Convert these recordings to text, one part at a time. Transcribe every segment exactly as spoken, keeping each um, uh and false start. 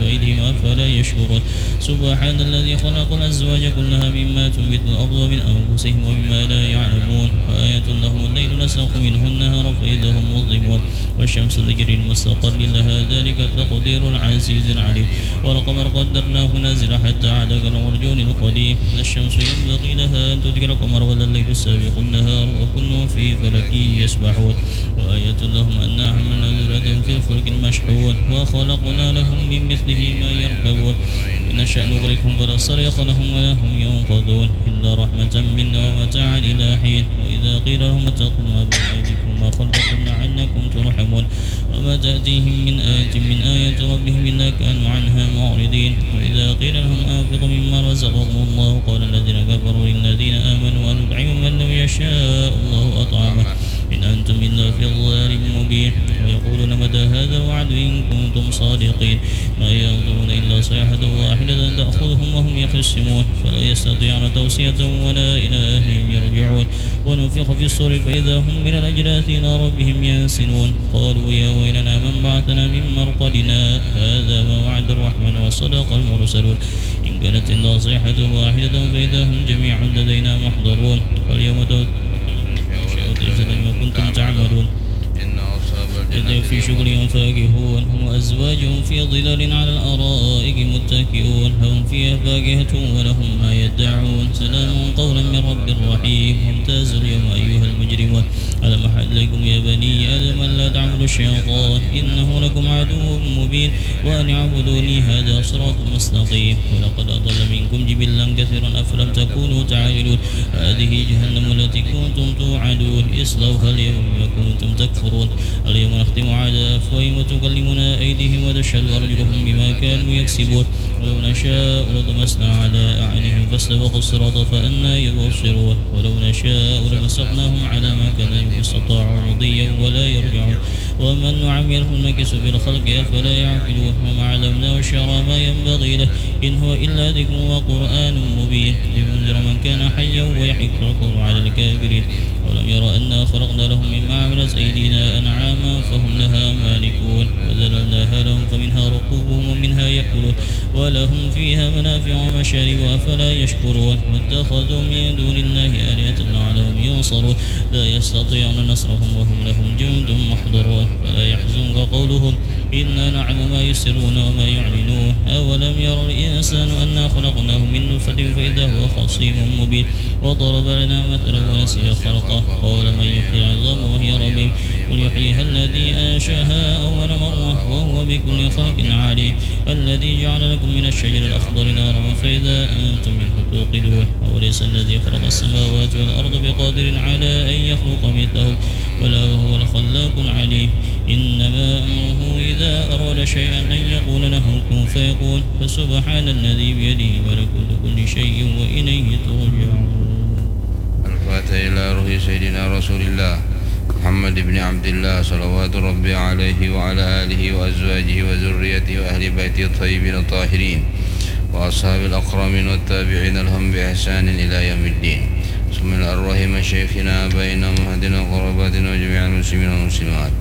أيديهم أفلا يشكرون. سبحان الذي خلق الأزواج كلها مما تنبت الأرض ومن أنفسهم ومما لا يعلمون. وآية لهم الليل نسلخ منه النهار فإذا هم مظلمون. والشمس تجري لمستقر لها ذلك تقدير العزيز العليم. والقمر قدرناه منازل حتى عاد كالعرجون القديم. لا الشمس ينبغي لها أن تدرك القمر ولا الليل سابق النهار وكل في فلك يسبحون. وآية لهم أنا حملنا ذريتهم في الفلك المشحون وخلقنا لهم من مثله ما يركبون. إن نشأ نغرقهم فلا صريخ لهم ولا هم ينقذون إلا رحمة منا ومتاعا إلى حين. وإذا قيل لهم اتقوا ما بين أيديكم وما خلفكم لعلكم ترحمون. وما تأتيهم من آية من آيات ربهم إلا كانوا عنها معرضين. وإذا قيل لهم أنفقوا مما رزقكم الله قال الذين كفروا للذين آمنوا أنطعم من لو يشاء الله أطعمه إن أنتم إلا في ضلال مبين. ويقولون متى هذا الوعد إن كنتم صادقين. ما ينظرون إلا صيحة واحدة تأخذهم وهم يخصمون فلا يستطيعون توصية ولا إلى أهلهم يرجعون. ونفخ في الصور فإذا هم من الأجداث إلى ربهم ينسلون. قالوا يا ويلنا من بعثنا من مرقدنا هذا ما وعد الرحمن وصدق المرسلون. إن كانت إلا صيحة واحدة فإذا هم جميع لدينا محضرون. فاليوم تجزون ما كنتم تعملون. إن أصحاب الجنة في شغل فاكهون هم وأزواجهم في ظلال على الأرائك متكئون لهم فيها فاكهة ولهم ما يدعون سلام قولا من رب رحيم. وامتازوا اليوم أيها المجرمون. ألم أعهد إليكم يا بني آدم ألا تعبدوا الشيطان إنه لكم عدو مبين وأن اعبدوني هذا صراط مستقيم. ولقد أضل منكم جبلا كثيرا أفلم تكونوا تعقلون. هذه جهنم التي كنتم توعدون اصلوها اليوم بما كنتم تكفرون. اليوم نختم على أفواههم وتكلمنا أيديهم وتشهد أرجلهم بما كانوا يكسبون. ولو نشاء لطمسنا على أعينهم فاستبقوا الصراط فأنى يبصرون. ولو نشاء لمسخناهم على ما كانوا فاستطاعوا مضيا ولا يرجعون. ومن نعمره ننكسه في الخلق أفلا يعقلون. وما علمناه الشعر ما ينبغي له إن هو إلا ذكر وقرآن مبين لينذر من كان حيا ويحق القول على الكافرين. أولم يروا أنا خلقنا لهم مما عملت أيدينا أنعاما فهم لها مالكون وذللناها لهم فمنها ركوبهم ومنها يأكلون ولهم فيها منافع ومشارب أفلا يشكرون. واتخذوا من دون الله آلهة لعلهم ينصرون. لا يستطيعون نصرهم وهم لهم جند محضرون. فلا يحزنك قولهم إنا نعلم ما يسرون وما يعلنون. أولم ير الإنسان أنا خلقناه من نطفة فإذا هو خصيم مبين. وضرب لنا مثلا ونسي خلقه قال من يحيي العظام وهي رميم. قل يحييها الذي أنشأها أول مرة وهو بكل خلق عليم. الذي جعل لكم من الشجر الأخضر نارا فإذا أنتم منه توقدون. أوليس الذي خلق السماوات والأرض بقادر على أن يخلق مثلهم بلى وهو الخلاق العليم. إنما أمره إذا أراد شيئا أن يقول له كن فيكون. فسبحان الذي بيده ملكوت كل شيء وإليه ترجعون. الفاتحة إلى روح سيدنا رسول الله محمد بن عبد الله صلوات ربي عليه وعلى آله وأزواجه وذريته وأهل بيته الطيبين الطاهرين وأصحاب الأكرمين والتابعين لهم بإحسان إلى يوم الدين. ثم إلى أرواح مشايخنا آبائنا وأمهاتنا وقراباتنا وجميع المسلمين والمسلمات.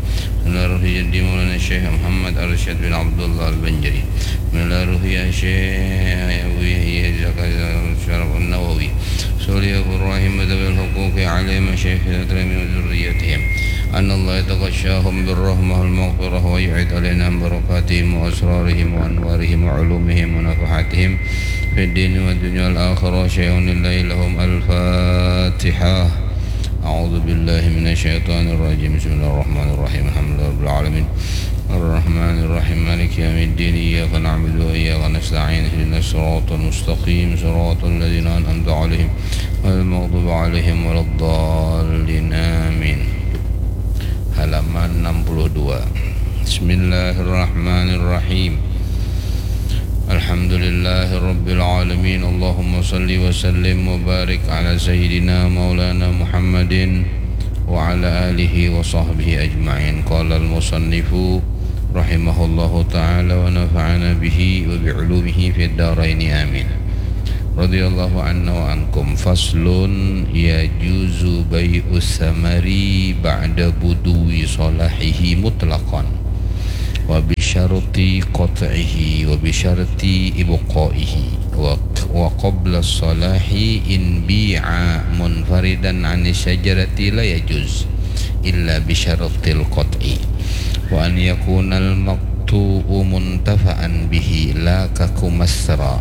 ثم إلى روح جدي مولانا الشيخ محمد أرشد بن عبد الله البنجري. ثم إلى روح الشيخ أبو يحيى زكريا الشرف النووي. صلي أبو الرحيم ذوي الحقوق عليهم مشايخ الأكرمين وذريتهم. أن الله يتغشاهم بالرحمة والمغفرة ويعيد علينا من بركاتهم وأسرارهم وأنوارهم وعلومهم ونفحاتهم في الدين والدنيا والآخرة شيء لله لهم. الفاتحة. أعوذ بالله من الشيطان الرجيم. بسم الله الرحمن الرحيم. الحمد لله رب العالمين. الرحمن الرحيم. مالك يوم الدين. إياك نعبد وإياك نستعين. اهدنا الصراط المستقيم. صراط الذين أنعمت عليهم غير المغضوب عليهم ولا الضالين. آمين. Halaman enam puluh dua. Bismillahirrahmanirrahim. Alhamdulillahirabbil alamin. Allahumma salli wa sallim wa barik ala sayyidina maulana Muhammadin wa ala alihi wa sahbihi ajma'in. Qala al-musannifu rahimahullahu ta'ala wa nafa'ana bihi wa bi ulumihi fid daraini, amin. Radhiyallahu anna wa ankum. Faslun, yajuzu bai'us samari ba'da buduwi salahihi mutlaqan. Wa bi بشرط قطعه وبشرط إبقائه، وقبل الصلاح إن بيع منفردا عن الشجرة لا يجوز إلا بشرط القطع، وأن يكون المقطوع منتفعا به لا ككمثرى.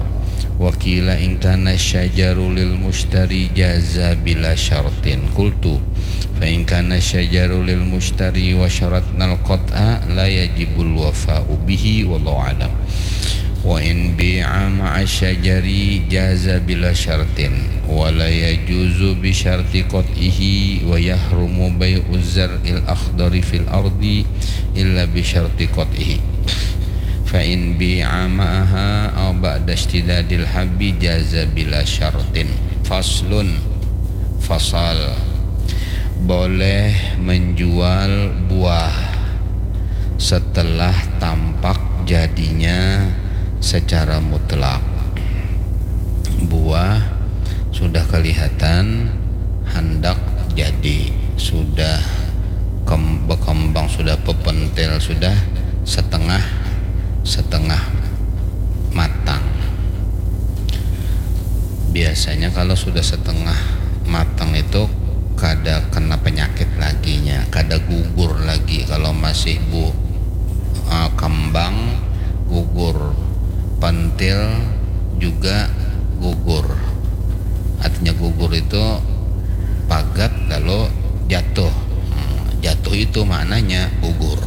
وقيل إن كان الشجر للمشتري جاز بلا شرط. قلت: فإن كان الشجر للمشتري وشرطنا القطع لا يجب الوفاء به، والله أعلم. وإن بيع مع الشجر جاز بلا شرط، ولا يجوز بشرط قطعه، ويحرم بيع الزرع الأخضر في الأرض إلا بشرط قطعه، فإن بيع معها أو بعد اشتداد الحب جاز بلا شرط. فصل. Fasal. Boleh menjual buah setelah tampak jadinya secara mutlak. Buah sudah kelihatan, handak jadi, sudah kem-, berkembang, sudah pepentil, sudah setengah, setengah matang. Biasanya kalau sudah setengah matang itu kada kena penyakit laginya, kada gugur lagi. Kalau masih bu-, eh, kembang, gugur, pentil juga gugur. Artinya gugur itu pagat lalu jatuh. Hmm, jatuh itu maknanya gugur.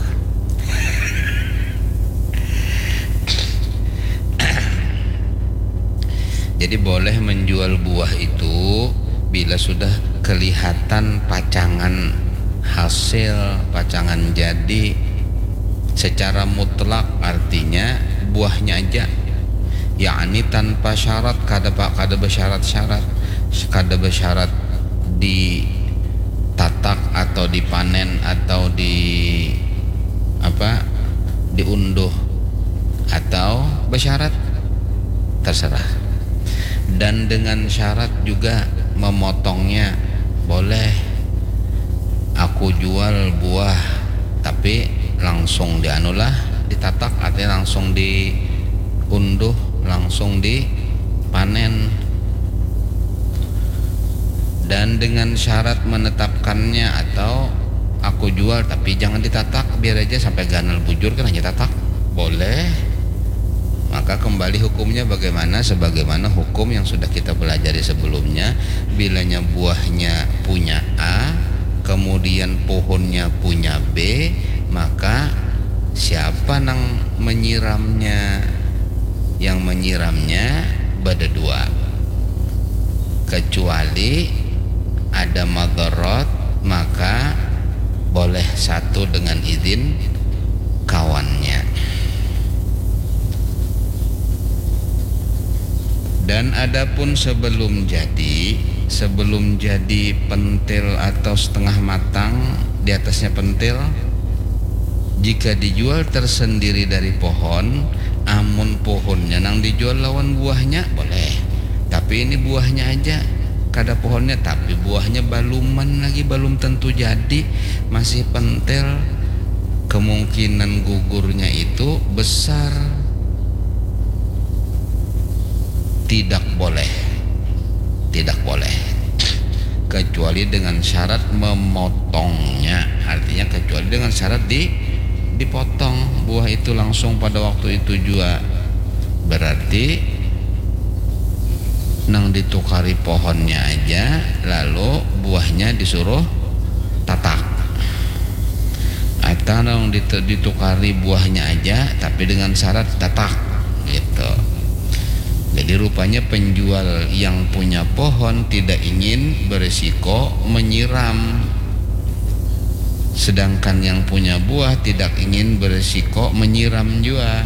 Jadi boleh menjual buah itu bila sudah kelihatan pacangan hasil, pacangan jadi secara mutlak, artinya buahnya aja, yakni tanpa syarat, kada pa-, kada bersyarat-syarat, kada bersyarat ditatak atau dipanen atau di apa, diunduh atau bersyarat, terserah. Dan dengan syarat juga memotongnya boleh. Aku jual buah, tapi langsung dianulah, ditatak, artinya langsung diunduh, langsung dipanen. Dan dengan syarat menetapkannya, atau aku jual tapi jangan ditatak, biar aja sampai ganal bujur kan hanya tatak, boleh. Maka kembali hukumnya bagaimana, sebagaimana hukum yang sudah kita pelajari sebelumnya. Bilanya buahnya punya A, kemudian pohonnya punya B, maka siapa nang menyiramnya? Yang menyiramnya bada dua. Kecuali ada madarat, maka boleh satu dengan izin kawannya. Dan adapun sebelum jadi, sebelum jadi pentil atau setengah matang, di atasnya pentil, jika dijual tersendiri dari pohon, amun pohonnya nang dijual lawan buahnya, boleh. Tapi ini buahnya aja, kada pohonnya, tapi buahnya baluman lagi, balum tentu jadi, masih pentil, kemungkinan gugurnya itu besar. Tidak boleh. Tidak boleh. Kecuali dengan syarat memotongnya. Artinya kecuali dengan syarat di-, dipotong buah itu langsung pada waktu itu jua. Berarti nang ditukari pohonnya aja, lalu buahnya disuruh tatak. Atau nang ditu-, ditukari buahnya aja, tapi dengan syarat tatak, gitu. Jadi rupanya penjual yang punya pohon tidak ingin berisiko menyiram, sedangkan yang punya buah tidak ingin berisiko menyiram jua.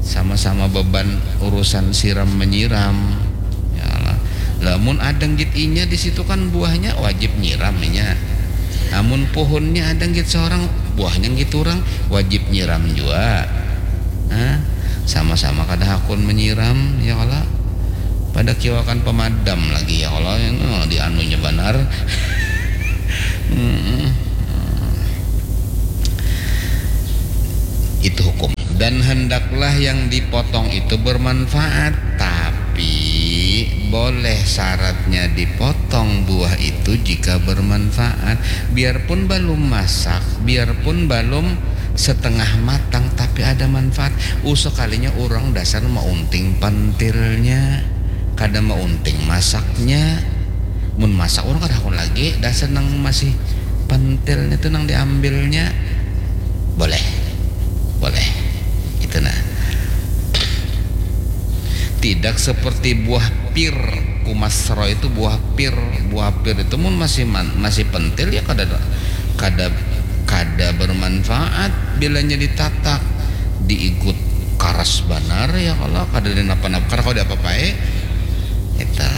Sama-sama beban urusan siram menyiram. Ya lah. Lamun ada nggit inya di situ kan buahnya wajib nyiram inya. Amun pohonnya ada nggit seorang, buahnya nggit orang, wajib nyiram jua. Nah, sama-sama kada hakun menyiram, ya kalo. Pada kiwakan pemadam lagi, ya kalo, yang, oh, di anunya banar. Mm-mm. Itu hukum. Dan hendaklah yang dipotong itu bermanfaat, tapi boleh syaratnya dipotong buah itu jika bermanfaat. Biarpun balum masak, biarpun balum setengah matang, tapi ada manfaat. Uh, sekalinya urang dasar maunting pentilnya, kada maunting masaknya. Mun masak urang kada hakun lagi, dasar nang masih pentilnya tu nang diambilnya. Boleh. Boleh. Itu nah. Tidak seperti buah pir, kumasro itu buah pir. Buah pir itu mun masih man, masih pentil ya kada, kada, kada bermanfaat bilanya ditatak, diigut karas banar ya kalo, kada dinapa-napa, kada kawa diapa-apai. Kita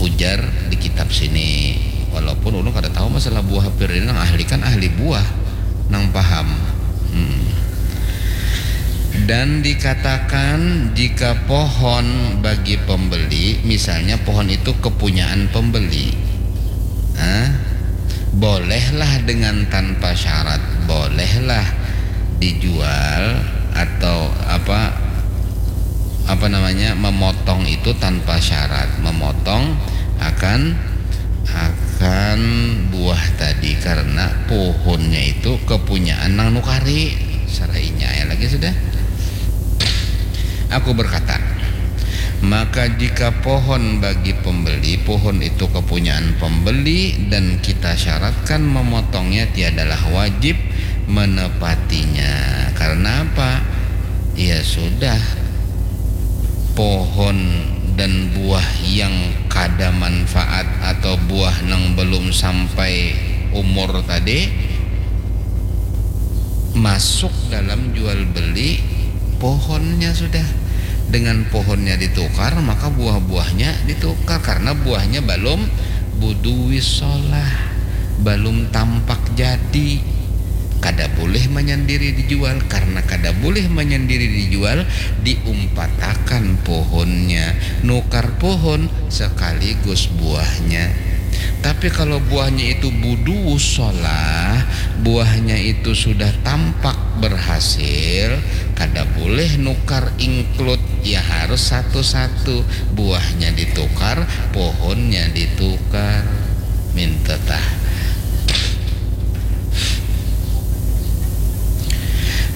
ujar di kitab sini, walaupun ulun kada tahu masalah buah pir ini, nang ahli kan ahli buah, nang paham. Hmm. Dan dikatakan jika pohon bagi pembeli, misalnya pohon itu kepunyaan pembeli, ah, bolehlah dengan tanpa syarat, bolehlah dijual atau apa, apa namanya, memotong itu tanpa syarat, memotong akan, akan buah tadi karena pohonnya itu kepunyaan nang nukari. Sarainya ya lagi sudah. Aku berkata, maka jika pohon bagi pembeli, pohon itu kepunyaan pembeli dan kita syaratkan memotongnya, tiadalah wajib menepatinya. Karena apa? Ya sudah, pohon dan buah yang kada manfaat atau buah nang belum sampai umur tadi masuk dalam jual beli pohonnya sudah. Dengan pohonnya ditukar, maka buah-buahnya ditukar karena buahnya balum buduwi solah, balum tampak jadi. Kada boleh manyandiri dijual, karena kada boleh manyandiri dijual, diumpatakan pohonnya, nukar pohon sekaligus buahnya. Tapi kalau buahnya itu buduwi solah, buahnya itu sudah tampak berhasil, kada boleh nukar include, ya harus satu-satu, buahnya ditukar, pohonnya ditukar. Minta tah.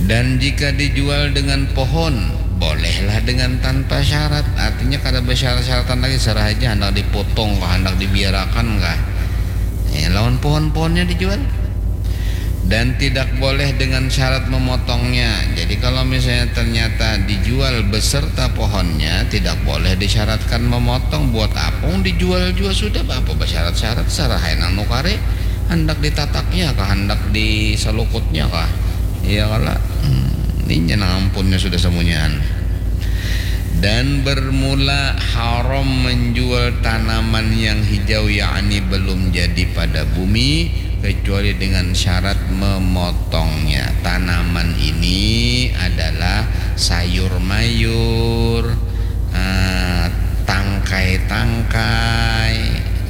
Dan jika dijual dengan pohon, bolehlah dengan tanpa syarat. Artinya kada bersyarat-syaratan lagi, serah aja handak dipotong kah, handak dibiarakan kah. Ya, lawan pohon-pohonnya dijual. Dan tidak boleh dengan syarat memotongnya. Jadi kalau misalnya ternyata dijual beserta pohonnya, tidak boleh disyaratkan memotong. Buat apa dijual jua sudah, apa bersyarat-syarat, serah ai nang nukari, handak ditataknya kah, handak diselukutnya kah. Iya kala. Hmm, inya nang ampunnya sudah samunyaan. Dan bermula haram menjual tanaman yang hijau, yakni belum jadi pada bumi, kecuali dengan syarat memotongnya. Tanaman ini adalah sayur mayur, eh, tangkai-tangkai,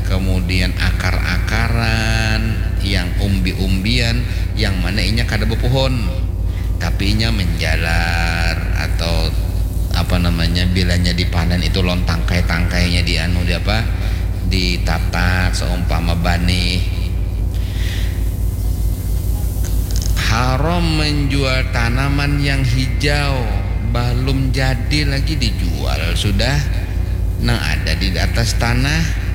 kemudian akar-akaran, yang umbi-umbian, yang mana inya kada bepohon, tapi inya menjalar atau apa namanya, bilanya dipanen itu lawan tangkai-tangkainya di anu, di apa, ditatak seumpama banih. Haram menjual tanaman yang hijau, balum jadi lagi dijual sudah, nang ada di atas tanah,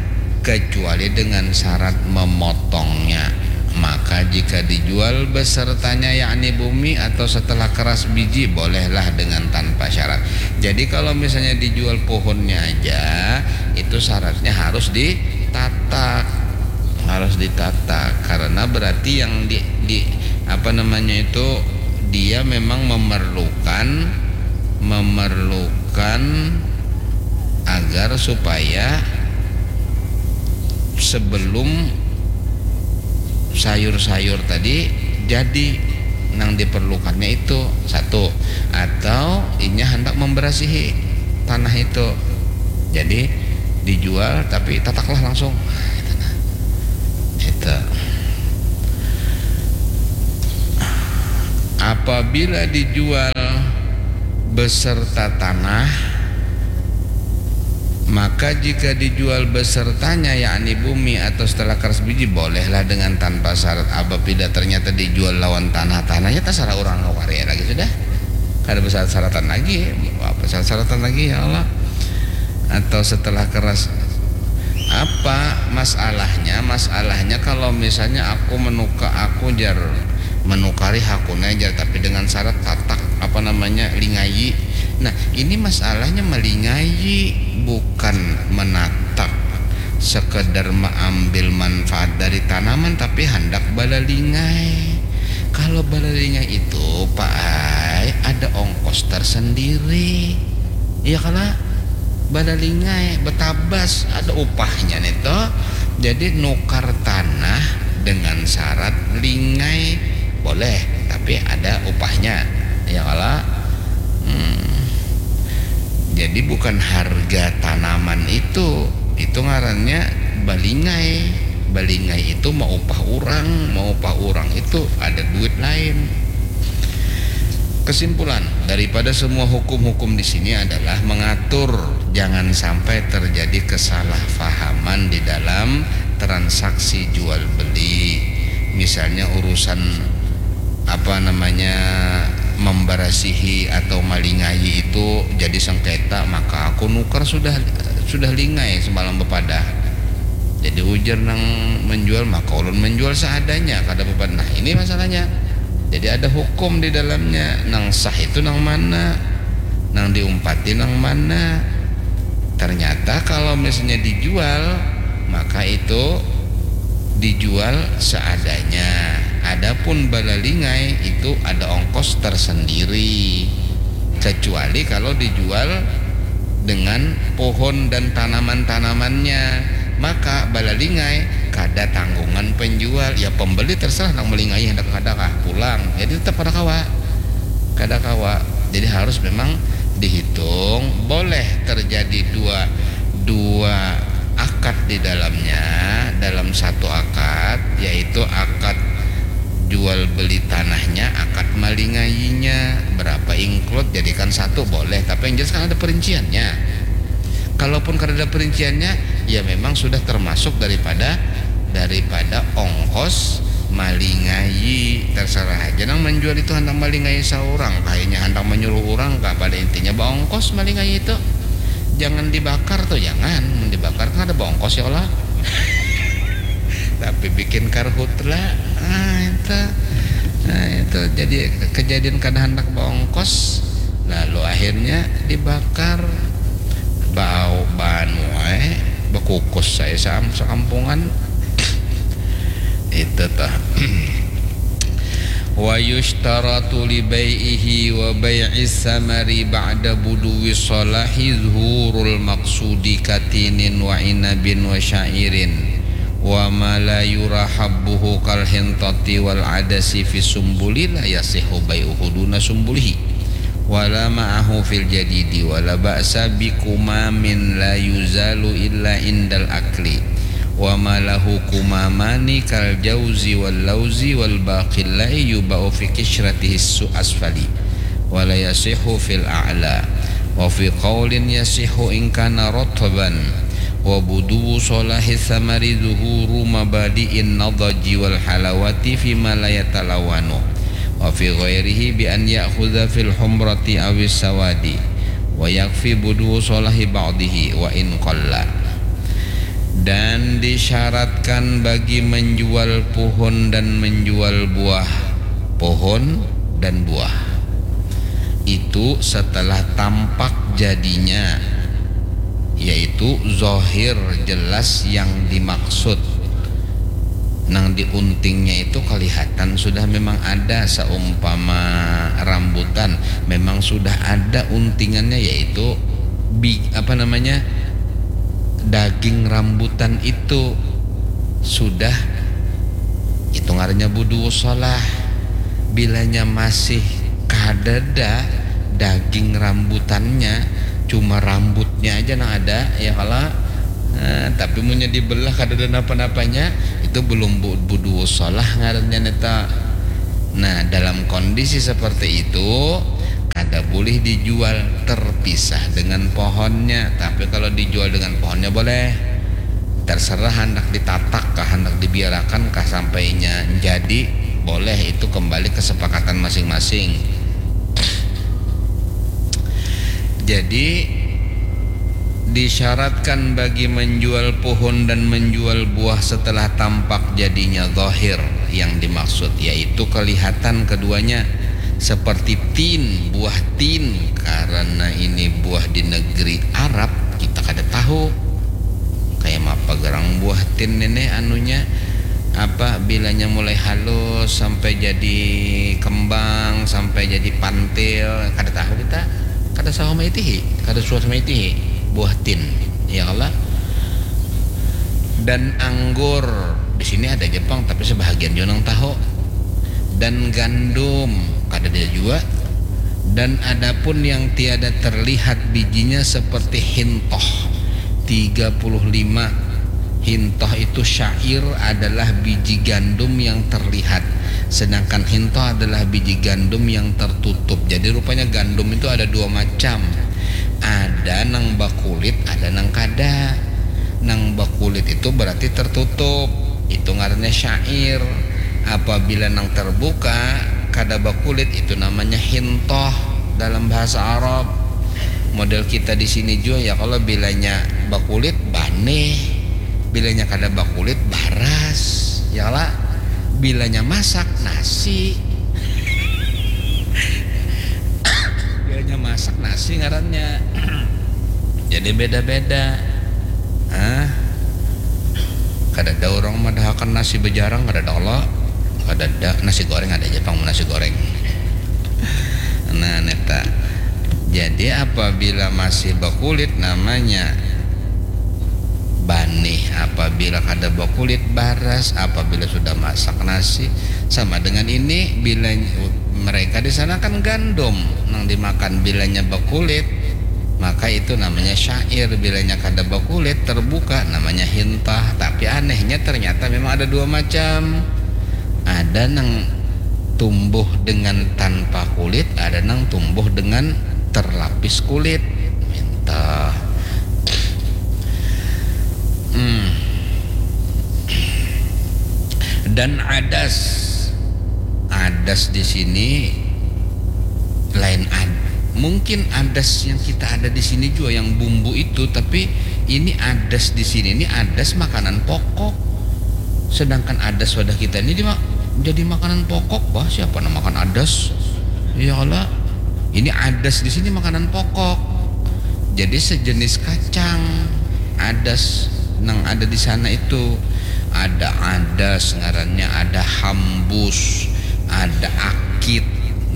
kecuali dengan syarat memotongnya. Maka jika dijual besertanya, yakni bumi atau setelah keras biji, bolehlah dengan tanpa syarat. Jadi kalau misalnya dijual pohonnya aja, itu syaratnya harus ditatak, harus ditatak, karena berarti yang di, di apa namanya itu, dia memang memerlukan, memerlukan agar supaya sebelum sayur-sayur tadi jadi, nang diperlukannya itu satu, atau inya hendak memberasihi tanah itu, jadi dijual tapi tataklah langsung. Nah, itu nah. Itu. Apabila dijual beserta tanah, maka jika dijual besertanya, yakni bumi atau setelah keras biji, bolehlah dengan tanpa syarat. Apabila ternyata dijual lawan tanah, tanahnya terserah orang nukar ya lagi sudah. Kada bersyarat-syaratan lagi, apa syarat-syaratan lagi ya Allah? Atau setelah keras apa masalahnya? Masalahnya kalau misalnya aku menuka aku jar menukari hakuna jar tapi dengan syarat tatak apa namanya lingayi. Nah, ini masalahnya melingayi bukan menatak sekedar mengambil manfaat dari tanaman tapi hendak balalingai. Kalau balalingai itu, Pak ai, ada ongkos tersendiri. Iya kala? Balalingai, betabas, ada upahnya nih toh. Jadi nukar tanah dengan syarat lingai boleh, tapi ada upahnya. Iya kala? Hmm. Jadi bukan harga tanaman itu, itu ngarannya balingai. Balingai itu mau upah orang, mau upah orang itu ada duit lain. Kesimpulan daripada semua hukum-hukum di sini adalah mengatur jangan sampai terjadi kesalahpahaman di dalam transaksi jual beli. Misalnya urusan apa namanya membarasihi atau malingayi itu jadi sengketa, maka aku nukar sudah sudah lingai semalam bepadah. Jadi ujar nang menjual, maka ulun menjual seadanya kada bepadah. Nah, ini masalahnya. Jadi ada hukum di dalamnya. Nang sah itu nang mana? Nang diumpati nang mana? Ternyata kalau misalnya dijual, maka itu dijual seadanya. Adapun balalingai itu ada ongkos tersendiri. Kecuali kalau dijual dengan pohon dan tanaman-tanamannya, maka balalingai kada tanggungan penjual. Ya pembeli terserah nang melingai hendak kada kah pulang. Jadi tetap kada kawa. Kada kawa. Jadi harus memang dihitung. Boleh terjadi dua dua akad di dalamnya, dalam satu akad, yaitu akad jual beli tanahnya, akad malingayinya, berapa include jadikan satu boleh, tapi yang jelas kan ada perinciannya. Kalaupun kada ada perinciannya, ya memang sudah termasuk daripada daripada ongkos malingayi. Terserah aja nang menjual itu hendak malingayi seorang, kayaknya hendak menyuruh orang kah, pada intinya baongkos malingayi itu. Jangan dibakar tuh, jangan. Mun dibakar kan ada baongkos ya Allah. Tapi bikin karhutla, ah itu, nah itu jadi kejadian kada hendak baongkos, lalu akhirnya dibakar, bau banu eh bekukus saya saam sekampungan itu tuh. Wa yushtaratu li bai'ihi wa bai'is samari ba'da buduwi sholahi zuhurul maqsudi katinin wa inabin wa sya'irin wa ma la yura habbuhu kal hintati wal adasi fi sumbuli la yasihu bai'uhu duna sumbulihi wala ma'ahu fil jadidi wala ba'sa bi kumamin la yuzalu illa indal akli wa ma lahu kumamani kal jauzi wal lauzi wal baqillai yuba'u fi kisyratihi su asfali wala yasihu fil a'la wa fi qaulin yasihu in kana rotban wa buduwu solahi samari zuhuru mabadi'in nadaji wal halawati fima la yatalawanu wa fi ghairihi bi an ya'khudha fil humrati awis sawadi wa yakfi buduwu solahi ba'dihi wa in qalla. Dan disyaratkan bagi menjual pohon dan menjual buah pohon dan buah itu setelah tampak jadinya, yaitu zohir jelas yang dimaksud. Nang diuntingnya itu kelihatan sudah memang ada, seumpama rambutan memang sudah ada untingannya, yaitu bi apa namanya daging rambutan itu sudah itu ngarannya budu salah. Bilanya masih kadada daging rambutannya, cuma rambutnya aja nang ada ya kalau Nah, tapi munnya dibelah kada ada napa-napanya, itu belum bu- budu salah ngarannya neta. Nah, dalam kondisi seperti itu, kada boleh dijual terpisah dengan pohonnya, tapi kalau dijual dengan pohonnya boleh. Terserah hendak ditatak kah, hendak dibiarakan kah sampainya jadi, boleh, itu kembali kesepakatan masing-masing. Jadi disyaratkan bagi menjual pohon dan menjual buah setelah tampak jadinya zahir yang dimaksud, yaitu kelihatan keduanya seperti tin, buah tin. Karena ini buah di negeri Arab, kita kada tahu kayak apa gerang buah tin ini anunya, apa, bilanya mulai halus sampai jadi kembang, sampai jadi pantil, kada tahu kita, kada sawa maitihi, kada suah maitihi buah tin, ya Allah. Dan anggur, di sini ada Jepang tapi sebahagian juga nang tahu. Dan gandum, kada ada jua. Dan adapun yang tiada terlihat bijinya seperti hintoh, tiga puluh lima. Hintoh itu syair, adalah biji gandum yang terlihat, sedangkan hintoh adalah biji gandum yang tertutup. Jadi rupanya gandum itu ada dua macam, ada nang bakulit, ada nang kada. Nang bakulit itu berarti tertutup, itu ngarannya syair. Apabila nang terbuka, kada bakulit, itu namanya hintoh dalam bahasa Arab. Model kita di sini jua, ya, kalau bilanya bakulit, banih, bilanya kada bakulit, baras, ya lah. Bilanya masak, nasi. Bilanya masak, nasi ngarannya. Jadi beda-beda. Ah, kada ada orang madahakan nasi bejarang, kada ada Allah. Kada ada. Nasi goreng ada aja pang, nasi goreng. Nah, neta. Jadi apabila masih bakulit namanya banih, apabila kada bakulit baras, apabila sudah masak nasi. Sama dengan ini, bila mereka di sana kan gandum nang dimakan, bilanya bakulit maka itu namanya syair, bilanya kada bakulit terbuka namanya hintah. Tapi anehnya ternyata memang ada dua macam, ada nang tumbuh dengan tanpa kulit, ada nang tumbuh dengan terlapis kulit. Minta. Hmm. Dan adas. Adas di sini lain ad. Mungkin adas yang kita ada di sini juga yang bumbu itu, tapi ini adas di sini ini adas makanan pokok. Sedangkan adas wadah kita ini dima-, jadi makanan pokok, bah, siapa nang makan adas? Ya Allah. Ini adas di sini makanan pokok. Jadi sejenis kacang adas nang ada di sana itu. Ada adas ngarannya, ada hambus, ada akit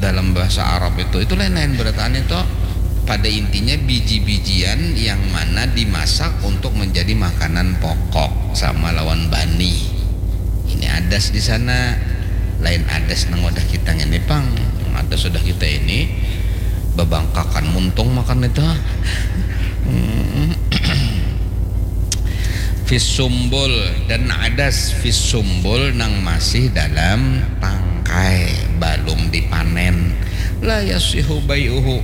dalam bahasa Arab itu. Itu lain-lain berataan itu. Pada intinya biji-bijian yang mana dimasak untuk menjadi makanan pokok sama lawan bani. Ini adas di sana, lain adas nang wadah kita ngini pang. Nang adas wadah kita ini babangkakan muntung makan itu. Hmm. Fis sumbul, dan adas fis sumbul nang masih dalam tangkai, balum dipanen. La yasihu bai'uhu,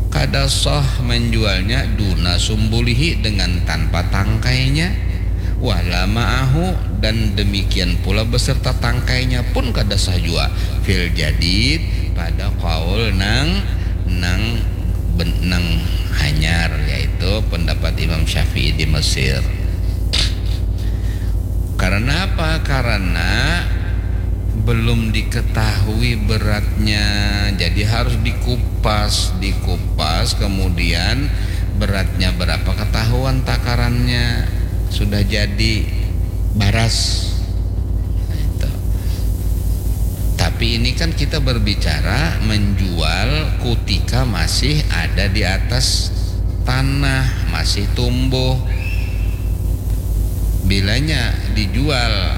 kada sah manjualnya duna sumbulihi, dengan tanpa tangkainya, wala ma'ahu, dan demikian pula beserta tangkainya pun kada sah jua, fil jadid, pada kaul nang, nang ben-, nang hanyar, yaitu pendapat Imam Syafi'i di Mesir. Karena apa? Karena belum diketahui beratnya, jadi harus dikupas, dikupas, kemudian beratnya berapa ketahuan takarannya, sudah jadi baras. Nah, itu. Tapi ini kan kita berbicara menjual kutika masih ada di atas tanah, masih tumbuh. Bilanya dijual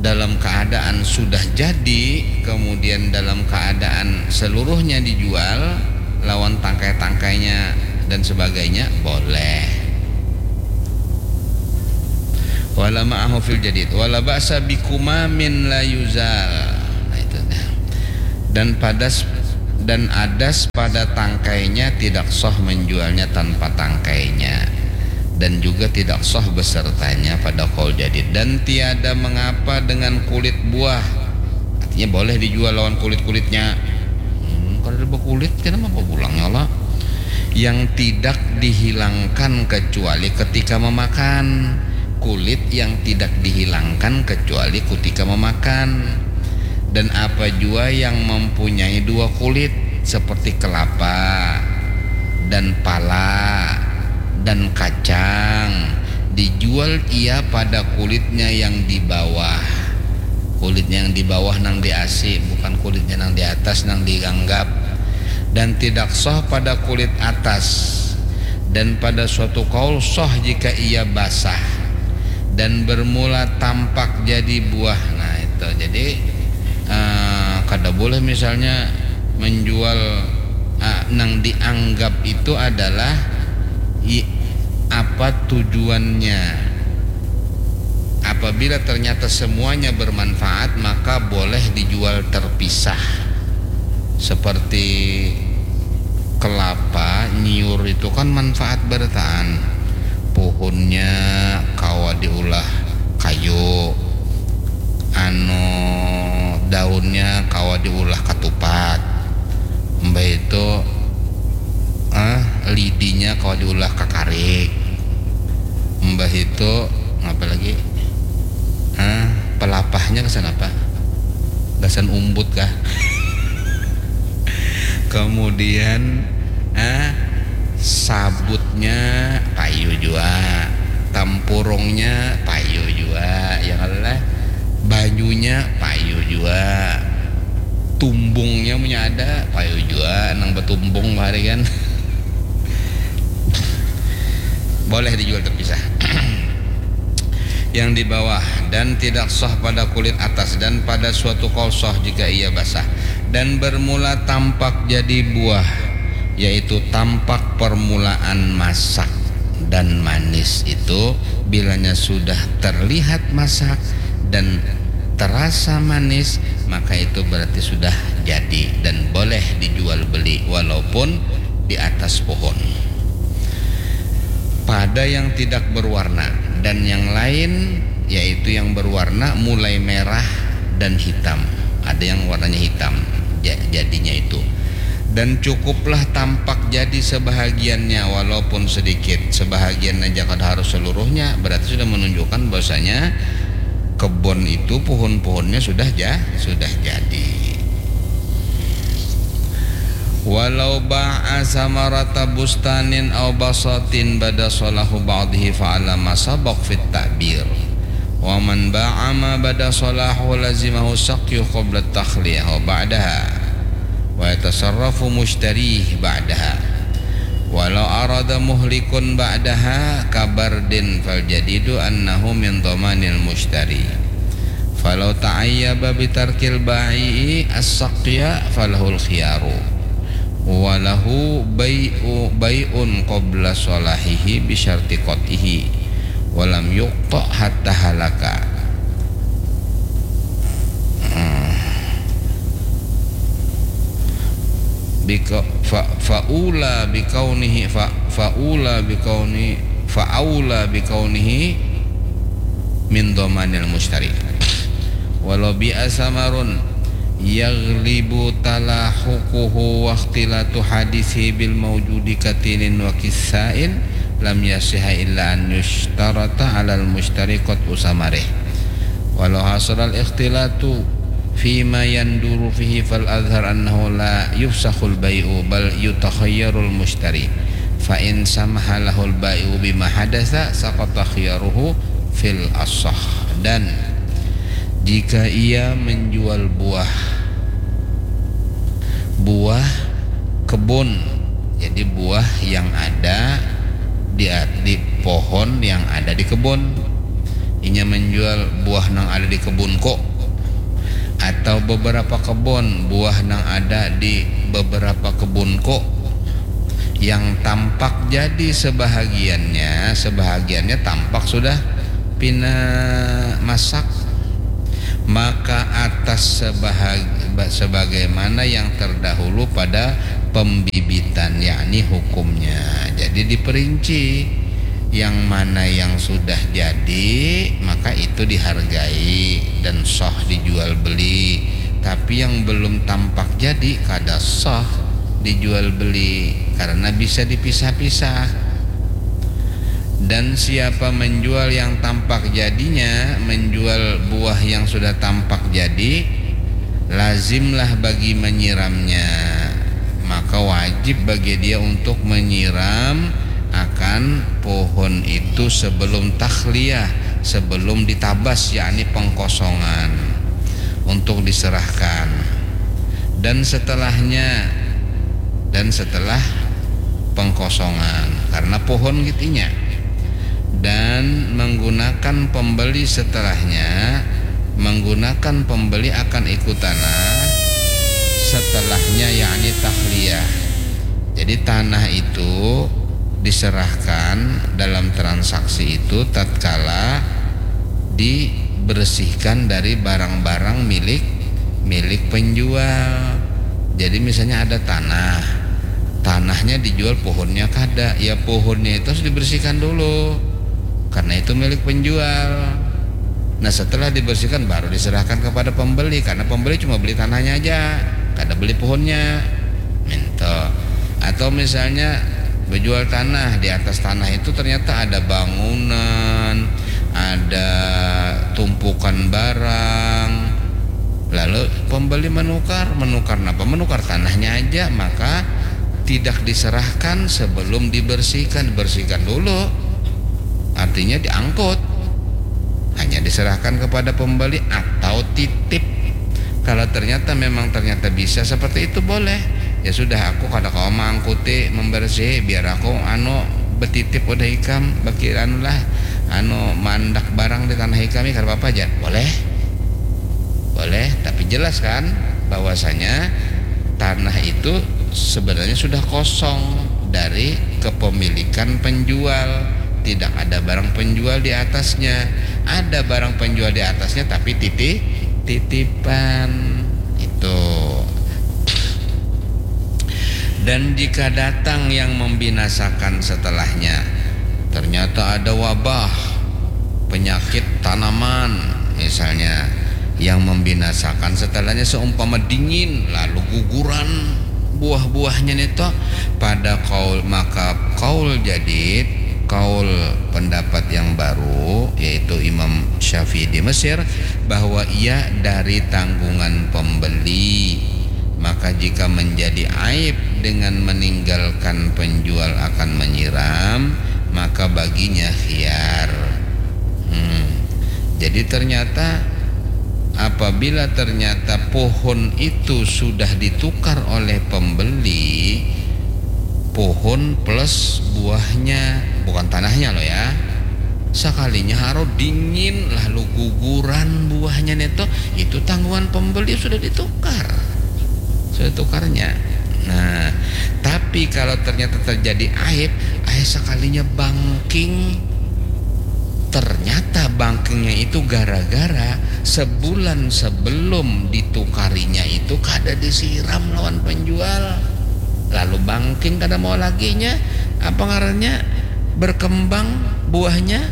dalam keadaan sudah jadi, kemudian dalam keadaan seluruhnya dijual, lawan tangkai-tangkainya dan sebagainya, boleh. Wala ma'ahu fil jadid, wala ba'sa bikumamin la yuzal. Nah, itu dah. Dan padas Dan adas pada tangkainya tidak sah menjualnya tanpa tangkainya, dan juga tidak sah besertanya pada kaul jadid. Dan tiada mengapa dengan kulit buah, artinya boleh dijual lawan kulit-kulitnya. Hmm, kada ada bakulit, kenapa bakulitnya lah? Yang tidak dihilangkan kecuali ketika memakan. Kulit yang tidak dihilangkan kecuali ketika memakan. Dan apa jua yang mempunyai dua kulit, seperti kelapa dan pala dan kacang, dijual ia pada kulitnya yang di bawah. Kulitnya yang di bawah nang diasi, bukan kulitnya nang di atas nang dianggap. Dan tidak sah pada kulit atas. Dan pada suatu kaul sah jika ia basah dan bermula tampak jadi buah. Nah, itu. Jadi, eh, kada boleh misalnya menjual, eh, nang dianggap itu adalah i-, apa tujuannya. Apabila ternyata semuanya bermanfaat, maka boleh dijual terpisah. Seperti kelapa, nyiur itu kan manfaat barataan. Puhunnya kawa diulah kayu, anu, daunnya kawa diulah katupat, mbah itu, ah, lidinya kawa diulah kakarik, mbah itu, apa lagi? Ah, pelapahnya gasan apa? Gasan umbut kah? Kemudian, ah, sabutnya payu jua, tampurungnya payu jua, ya kan lah? Banyunya payu jua, tumbungnya punya ada payu jua, nang batumbung bahari kan. Boleh dijual terpisah. Yang di bawah, dan tidak sah pada kulit atas, dan pada suatu kaul sah jika ia basah, dan bermula tampak jadi buah, yaitu tampak permulaan masak dan manis itu, bilanya sudah terlihat masak dan terasa manis, maka itu berarti sudah jadi dan boleh dijual beli walaupun di atas pohon. Pada yang tidak berwarna dan yang lain, yaitu yang berwarna mulai merah dan hitam. Ada yang warnanya hitam, ja-, jadinya itu. Dan cukuplah tampak jadi sebahagiannya, walaupun sedikit. Sebahagian aja, kada harus seluruhnya. Berarti sudah menunjukkan bahwasanya kebun itu, pohon-pohonnya sudah ja-, sudah jadi. Walau ba'a samarata bustanin au basatin bada salahu ba'dihi fa'ala ma sabaq fit ta'bir. Wa man ba'a ma bada salahu lazimahu saqyu qabla takhliyah wa ba'daha. Wa yatasarrafu mushtarih ba'daha. Walau arada muhlikun ba'daha kabardin fal jadidu annahu min dhamanil mushtari. Falau ta'ayyaba bitarkil bai'i as-saqya falahul khiyaru. Walahu bai'u, bai'un qabla salahihi bisyarti qat'ihi. Walam yuqta' hatta halaka. Hmm. Bika-, fa-, faula bikaunihi, fa-, faula bikauni-, fa'aula bikaunihi min dhamanil mushtari. Walau bi'a samarun yaghlibu talahuquhu wa ikhtilatu hadisihi bil maujudi katinin wa kissain lam yasiha illa an yushtarata alal mushtari qat'u samarih. Walau hasalal ikhtilatu fima yanduru fihi fal azhar annahu la yufsakhul bai'u bal yutakhayyarul mushtari. Fa in samaha lahul bai'u bima hadasa saqata khiyaruhu fil asah. Dan jika ia menjual buah, buah kebun, jadi buah yang ada di, di pohon yang ada di kebun, inya menjual buah nang ada di kebunku, atau beberapa kebun, buah nang ada di beberapa kebunku, yang tampak jadi sebahagiannya, sebahagiannya tampak sudah pina masak. Maka atas sebahag- sebagaimana yang terdahulu pada pembibitan, yakni hukumnya. Jadi diperinci, yang mana yang sudah jadi, maka itu dihargai dan sah dijual beli. Tapi yang belum tampak jadi, kada sah dijual beli karena bisa dipisah-pisah. Dan siapa menjual yang tampak jadinya, menjual buah yang sudah tampak jadi, lazimlah bagi menyiramnya. Maka wajib bagi dia untuk menyiram akan pohon itu sebelum takhliyah, sebelum ditabas, yakni pengkosongan, untuk diserahkan. Dan setelahnya, dan setelah pengkosongan, karena pohon gitunya. Dan menggunakan pembeli setelahnya, menggunakan pembeli akan ikut tanah setelahnya, yakni takhliyah. Jadi tanah itu diserahkan dalam transaksi itu tatkala dibersihkan dari barang-barang milik milik penjual. Jadi misalnya ada tanah, tanahnya dijual, pohonnya kada, ya pohonnya itu harus dibersihkan dulu karena itu milik penjual. Nah, setelah dibersihkan baru diserahkan kepada pembeli, karena pembeli cuma beli tanahnya aja, kada beli pohonnya. Minta. Atau misalnya berjual tanah, di atas tanah itu ternyata ada bangunan, ada tumpukan barang. Lalu pembeli menukar, menukar apa? Menukar tanahnya aja, maka tidak diserahkan sebelum dibersihkan. Bersihkan dulu, artinya diangkut. Hanya diserahkan kepada pembeli atau titip. Kalau ternyata memang ternyata bisa seperti itu, boleh. Ya sudah, aku kada kawa mangkuti membersihi, biar aku anu betitip udah ikam, bakir anu lah, anu mandak barang di tanah ikam, kada apa-apa aja. Boleh. Boleh, tapi jelas kan bahwasanya tanah itu sebenarnya sudah kosong dari kepemilikan penjual. Tidak ada barang penjual di atasnya. Ada barang penjual di atasnya, tapi titip titipan itu. Dan jika datang yang membinasakan setelahnya, ternyata ada wabah, penyakit tanaman misalnya, yang membinasakan setelahnya, seumpama dingin lalu guguran buah-buahnya nito, pada kaul, maka kaul jadid, kaul pendapat yang baru, yaitu Imam Syafi'i di Mesir, bahwa ia dari tanggungan pembeli. Maka jika menjadi aib dengan meninggalkan penjual akan menyiram, maka baginya khiyar. Hmm. Jadi ternyata apabila ternyata pohon itu sudah ditukar oleh pembeli, pohon plus buahnya, bukan tanahnya loh ya. Sakalinya haro dingin lalu guguran buahnya neto, itu tanggungan pembeli sudah ditukar. Sudah tukarnya. Nah, tapi kalau ternyata terjadi aib, aib sakalinya bangking. Ternyata bangkingnya itu gara-gara sebulan sebelum ditukarinya itu kada disiram lawan penjual. Lalu bangking kada mau laginya, apa ngarannya, berkembang buahnya.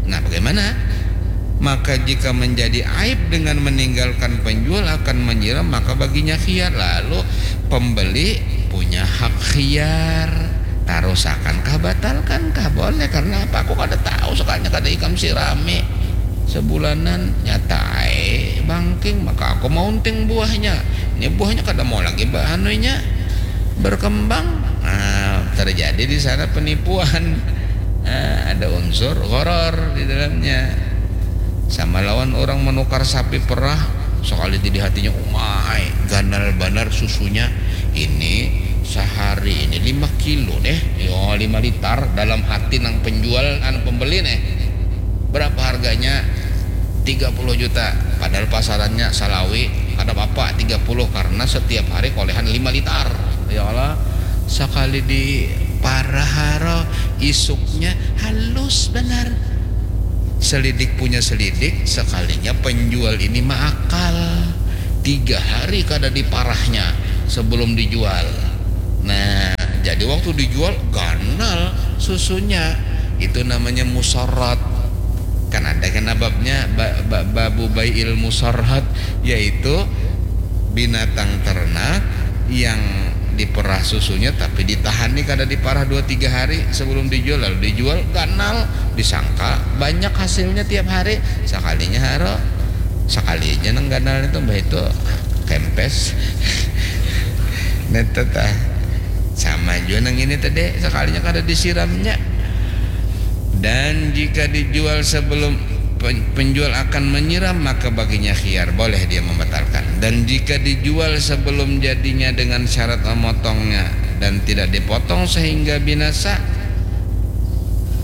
Nah, bagaimana? Maka jika menjadi aib dengan meninggalkan penjual akan menyiram, maka baginya khiyar. Lalu pembeli punya hak khiyar. Tarusakan kah, batalkan kah? Boleh, karena apa? Aku kada tahu, sekalinya kada ikam sirami. Sebulanan nyata ai bangking, maka aku maunting buahnya. Ini buahnya kada mau lagi ba-, anunya, berkembang. Nah, terjadi di sana penipuan. Nah, ada unsur gharar di dalamnya. Sama lawan orang menukar sapi perah, sekali di hatinya, umai, ganal banar susunya. Ini sehari ini lima kilo deh, yo, lima liter, dalam hati nang penjual, anu, pembeli nih. Berapa harganya? Tiga puluh juta. Padahal pasarannya salawi, kada apa-apa tiga puluh karena setiap hari kolehan lima liter. Ya Allah, sekali di paraharo, isuknya halus benar. Selidik punya selidik, sekalinya penjual ini maakal. Tiga hari kada diparahnya sebelum dijual. Nah, jadi waktu dijual ganal susunya. Itu namanya musarrat. Kan ada kan babnya ba, ba, babu bai'il musarrat, yaitu binatang ternak yang diperah susunya tapi ditahan nih kada diparah dua tiga hari sebelum dijual, lalu dijual ganal, disangka banyak hasilnya tiap hari, sekalinya haro, sekalinya nang ganal itu mbah itu kempes. Netet ah. Sama jua nang ini tadi, sekalinya kada disiramnya. Dan jika dijual sebelum pen- penjual akan menyiram, maka baginya khiyar, boleh dia membatalkan. Dan jika dijual sebelum jadinya dengan syarat memotongnya dan tidak dipotong sehingga binasa,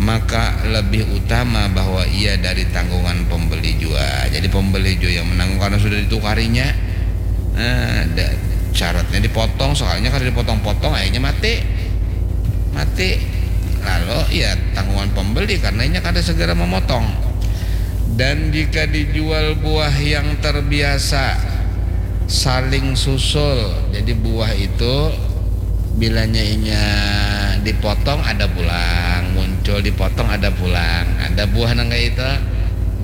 maka lebih utama bahwa ia dari tanggungan pembeli jua. Jadi pembeli jua yang menanggung karena sudah ditukarinya. Nah, da- syaratnya dipotong, soalnya kalau dipotong-potong akhirnya mati. Mati. Lalu ya tanggungan pembeli karena inya kada segera memotong. Dan jika dijual buah yang terbiasa saling susul, jadi buah itu bilanya inya dipotong ada pulang, muncul dipotong ada pulang, ada buah nang kayak itu,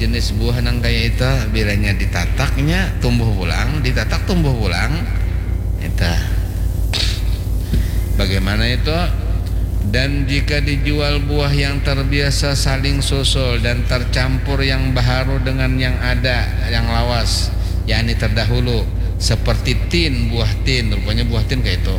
jenis buah nang kayak itu bilanya ditataknya tumbuh pulang, ditatak tumbuh pulang. Itu. Bagaimana itu? Dan jika dijual buah yang terbiasa saling susul dan tercampur yang baharu dengan yang ada, yang lawas, yakni terdahulu, seperti tin, buah tin, rupanya buah tin kayak itu.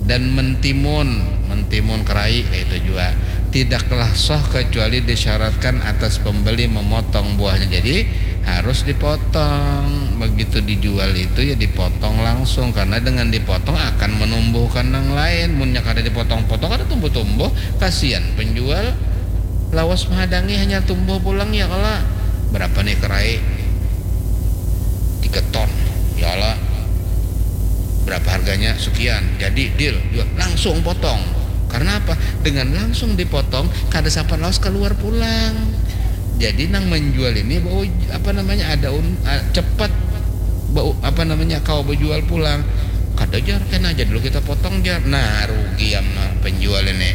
Dan mentimun, mentimun kerai kayak itu juga. Tidaklah sah kecuali disyaratkan atas pembeli memotong buahnya. Jadi harus dipotong. Begitu dijual itu ya dipotong langsung karena dengan dipotong akan menumbuhkan nang lain. Munnya kada dipotong-potong kada tumbuh-tumbuh. Kasihan penjual lawas menghadangi hanya tumbuh pulang ya kala. Berapa nih kerai? Tiga ton. Ya Allah. Berapa harganya? Sekian. Jadi deal, jual. Langsung potong. Karena apa? Dengan langsung dipotong, kada sapan lawas keluar pulang. Jadi nang menjual ini bau apa namanya ada un, ah, cepat bau apa namanya kau berjual pulang. Kada jar kena aja dulu kita potong jar. Nah, rugi ya penjual ini.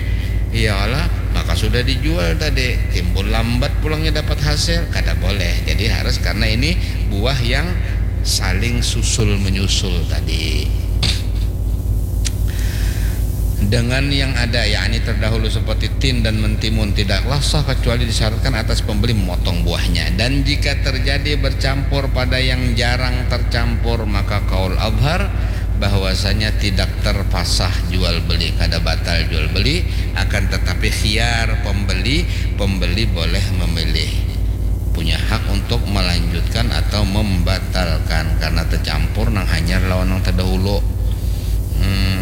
Iyalah, maka sudah dijual tadi timbul lambat pulangnya dapat hasil, kada boleh. Jadi harus karena ini buah yang saling susul menyusul tadi. Dengan yang ada, yakni terdahulu seperti tin dan mentimun, tidaklah sah kecuali disyaratkan atas pembeli memotong buahnya. Dan jika terjadi bercampur pada yang jarang tercampur, maka kaul azhar bahwasanya tidak terpasah jual beli, kada batal jual beli, akan tetapi khiyar pembeli, pembeli boleh memilih, punya hak untuk melanjutkan atau membatalkan karena tercampur nang hanyar lawan nang terdahulu. Hmm.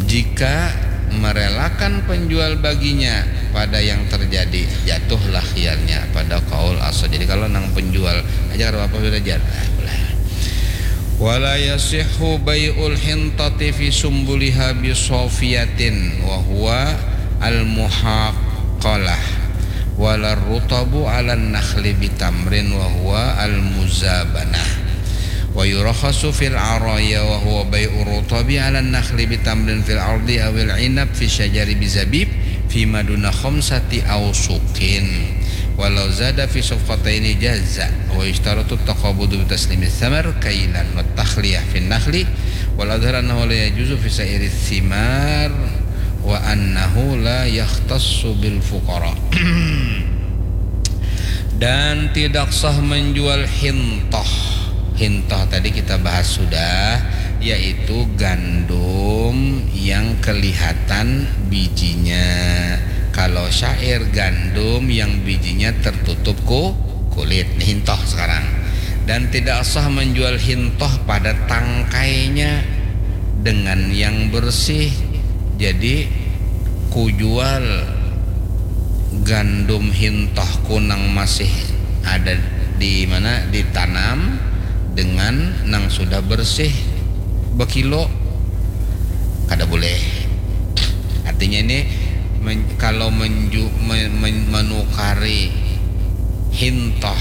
Jika merelakan penjual baginya pada yang terjadi, jatuhlah khiyarnya pada kaul asal. Jadi kalau nang penjual aja kada apa-apa sudah jar. Ah, boleh. Wala yasihhu bai'ul hintati fi sumbuliha bisofiyatin wa huwa al-muhaqalah, wala rutabu ala nakhli bitamrin wa huwa al-muzabanah, wa yurakhasu fil araya wa huwa bai'u rutabi ala nakhli bitamrin fil ardi awil inab fi syajari bizabib fi maduna khamsati awsukin, walau zada fi safqataini jaza, wa yushtaratu taqabudu bi taslimi thamar kailan wa takhliyah fin nakhli, wal azhar annahu la yajuzu fi sa'iri thimar wa annahu la yakhtassu bil fuqara. Dan tidak sah menjual hintoh. Hintoh tadi kita bahas sudah, yaitu gandum yang kelihatan bijinya. Kalau syair gandum yang bijinya tertutup ku kulit, nih hintoh sekarang. Dan tidak sah menjual hintoh pada tangkainya dengan yang bersih. Jadi kujual gandum hintohku nang masih ada di mana ditanam dengan nang sudah bersih bekilo, kada boleh. Artinya ini Men, kalau menju, men, men, menukari hintoh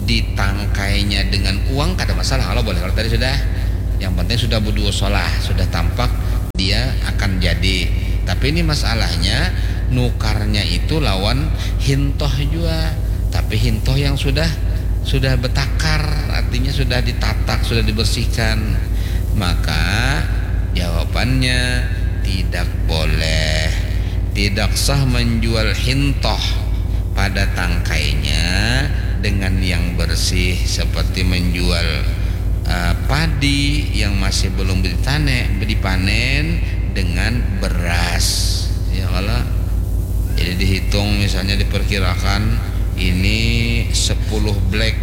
di tangkainya dengan uang kada masalah, kalau boleh, kalau tadi sudah, yang penting sudah berduo solah, sudah tampak dia akan jadi. Tapi ini masalahnya nukarnya itu lawan hintoh jua, tapi hintoh yang sudah sudah betakar, artinya sudah ditatak, sudah dibersihkan, maka jawabannya tidak boleh. Tidak sah menjual hintoh pada tangkainya dengan yang bersih, seperti menjual uh, padi yang masih belum ditane, dipanen dengan beras. Ya Allah. Jadi dihitung, misalnya diperkirakan ini sepuluh black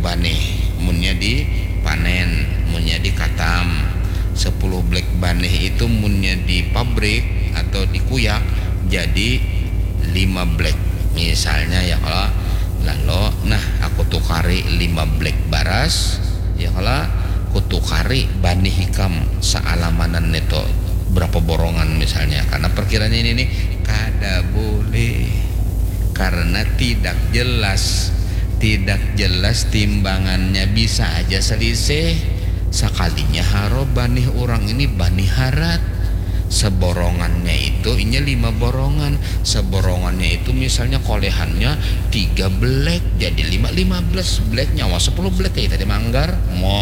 banih, munnya dipanen, munnya dikatam. Sepuluh black banih itu munnya di pabrik atau di kuyak jadi lima black. Misalnya ya, kalau lalu, nah, aku tukari lima black baras, ya, kalau aku tukari banih ikam sealamanan itu berapa borongan misalnya, karena perkiranya ini nih kada boleh, karena tidak jelas, tidak jelas timbangannya, bisa aja selisih. Sekalinya haro banih orang ini banih harat, seborongannya itu inya lima borongan, seborongannya itu misalnya kolehannya tiga black jadi lima, lima belas black, nyawa sepuluh black kayak tadi manggar. Mau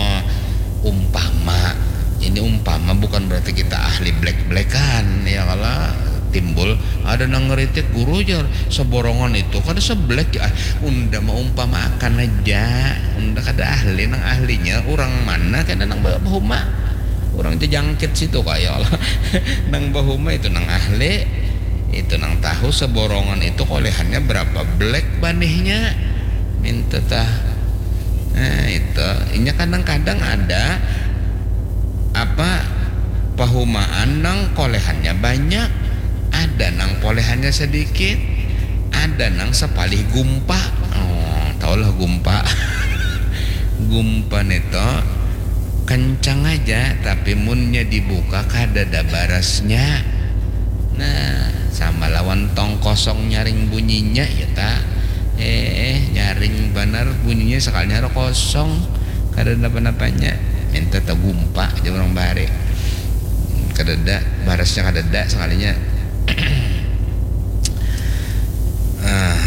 umpama, ini umpama, bukan berarti kita ahli black-blackan ya, kalau timbul ada nang ngeritik guru jar, seborongan itu kada sebelek ya. Unda maumpamakan aja, unda kada ahli, nang ahlinya orang mana kena nang bahuma, orang jejangkit situ kaya Allah. Nang bahuma itu nang ahli, itu nang tahu seborongan itu kolehannya berapa black banihnya. Minta tah. Nah, itu inya kadang-kadang ada apa, pahumaan nang kolehannya banyak, ada nang kolehannya sedikit, ada nang sepalih gumpa. Oh, tahulah gumpa. Gumpa neto kencang aja, tapi munnya dibuka kada ada barasnya. Nah, sama lawan tong kosong nyaring bunyinya ya ta. Eh, nyaring banar bunyinya, sekalinya ada kosong, kada ada apa-apanya. Minta tagumpa aja orang bahari. Kadada, barasnya kadada sekalinya. Ah.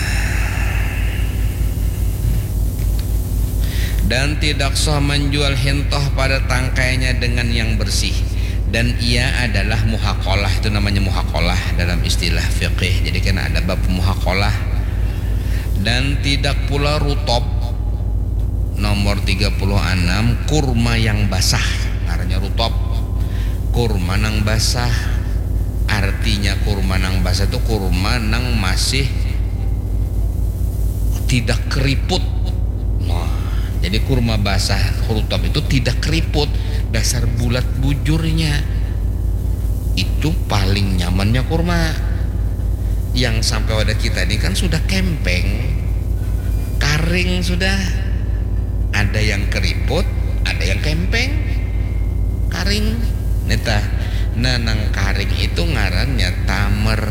Dan tidak sah menjual hintoh pada tangkainya dengan yang bersih. Dan ia adalah muhakolah, itu namanya muhakolah dalam istilah fikih. Jadi kan ada bab muhakolah. Dan tidak pula rutop, nomor tiga puluh enam, kurma yang basah, ngarannya rutop. Kurma nang basah, artinya kurma nang basah itu kurma nang masih tidak keriput. Nah, jadi kurma basah, rutop itu tidak keriput, dasar bulat bujurnya. Itu paling nyamannya kurma. Yang sampai wadah kita ini kan sudah kempeng, karing sudah. Ada yang keriput, ada yang kempeng, karing. Nita, nah, nang karing itu ngarannya tamer.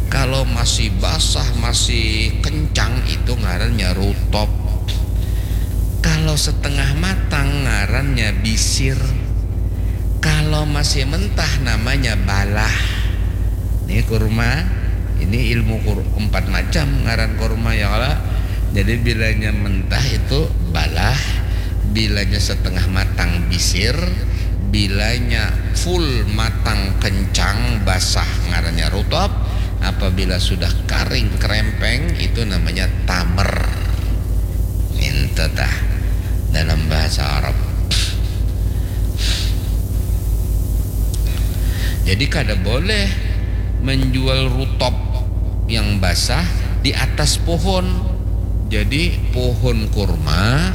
Kalau masih basah, masih kencang, itu ngarannya rutop. Kalau setengah matang, ngarannya bisir. Kalau masih mentah, namanya balah. Ini kurma, ini ilmu kur, empat macam ngaran kurma ya, kalau. Jadi bilanya mentah itu balah, bilanya setengah matang bisir, bilanya full matang kencang basah ngarannya rutop, apabila sudah karing kerempeng itu namanya tamer. Minta tah dalam bahasa Arab. Jadi kada boleh menjual rutop yang basah di atas pohon. Jadi pohon kurma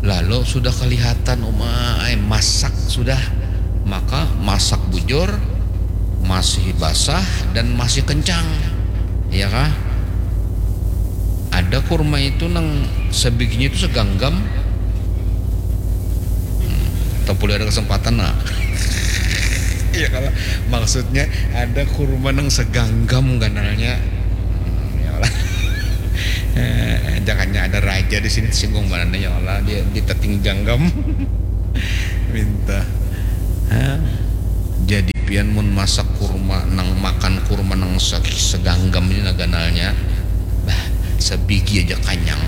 lalu sudah kelihatan umai masak sudah, maka masak bujur, masih basah dan masih kencang, ya kah? Ada kurma itu nang sebiginya itu seganggam. Hmm, tapi ada kesempatan nak. Ya kalau maksudnya ada kurma nang seganggam ganalnya. Ya Allah. Eh, jangannya ada raja di sini tersinggung banana ya Allah, dia ditating ganggam. Minta. Hah? Jadi pian mun masak kurma nang makan kurma nang se- seganggam ini nah ganalnya. Bah, sebigi aja kanyang.